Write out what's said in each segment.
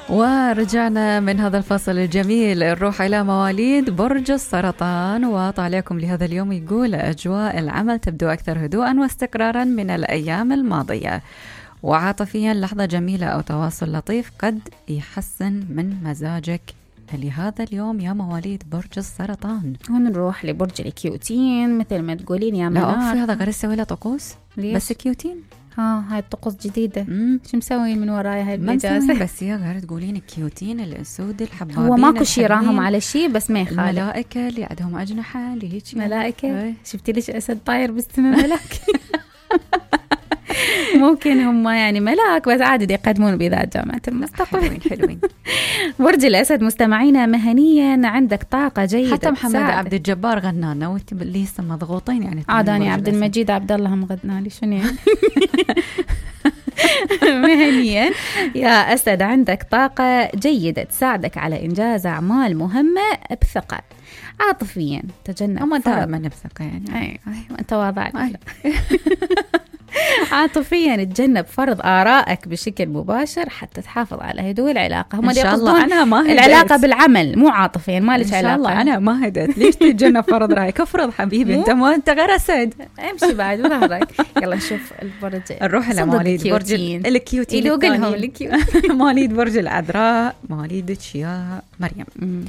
ورجعنا من هذا الفصل الجميل، نروح إلى مواليد برج السرطان. وطالعكم لهذا اليوم يقول: أجواء العمل تبدو أكثر هدوءا واستقرارا من الأيام الماضية، وعاطفيا لحظة جميلة أو تواصل لطيف قد يحسن من مزاجك لهذا اليوم يا مواليد برج السرطان. ونروح لبرج الكيوتين، مثل ما تقولين يا منار. لا في هذا غير يسوي له طقوس بس كيوتين. هاي الطقوس جديدة. شو مسوين من ورايا هاي الإجازة؟ بس يا غير تقولين الكيوتين الأسود الحبابين، هو ماكو شي راهم على شي، بس ما يخالف. الملائكة اللي عندهم أجنحة اللي هيك ملائكة. شفتي ليش أسد طاير بالسماء ملاك؟ ممكن هم يعني ملاك بس عادي يقدمون بذات جامعة المستقبل. حلوين. برج الأسد، مستمعينا مهنيا عندك طاقة جيدة. حتى محمد عبد الجبار غنانا وانت اللي لسه مضغوطين يعني. عاداني عبد المجيد عبد الله هم غنالي شنو يعني. مهنيا يا أسد عندك طاقة جيدة تساعدك على إنجاز أعمال مهمة بثقة. عاطفيا تجنب أما أنت من بثقة يعني. أيوة أنت واضع. عاطفيا تجنب فرض آرائك بشكل مباشر حتى تحافظ على هدوء العلاقة. هم إن شاء الله أنا ما هدأت. العلاقة بالعمل مو عاطفيا، ما لك علاقة. إن شاء الله أنا ما هدأت. ليش تتجنب فرض رأيك؟ افرض حبيبي أنت غير أسد. امشي بعد ظهرك. يلا نشوف البرج. نروح إلى مواليد برج الكيوتين. مواليد برج العذراء، مواليدك يا مريم.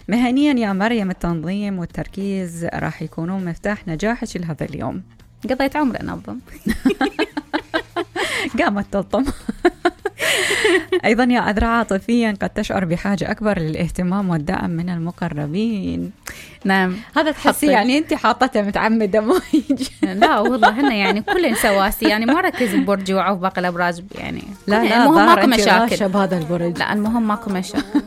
مهنيا يا مريم التنظيم والتركيز راح يكونون مفتاح نجاحك لهذا اليوم. قضيت عمري أنظم. قامت تلطم. أيضا يا عذراء، عاطفيا قد تشعر بحاجة أكبر للاهتمام والدعم من المقربين. نعم هذا تحسي يعني أنت حاطتها متعمدة مو يجي. لا والله هنا يعني كلنا سواسي يعني، ما ركز ببرج وعوف باقي الأبراج يعني. لا المهم ماكو مشاكل بهذا البرج. لا المهم ماكو مشاكل.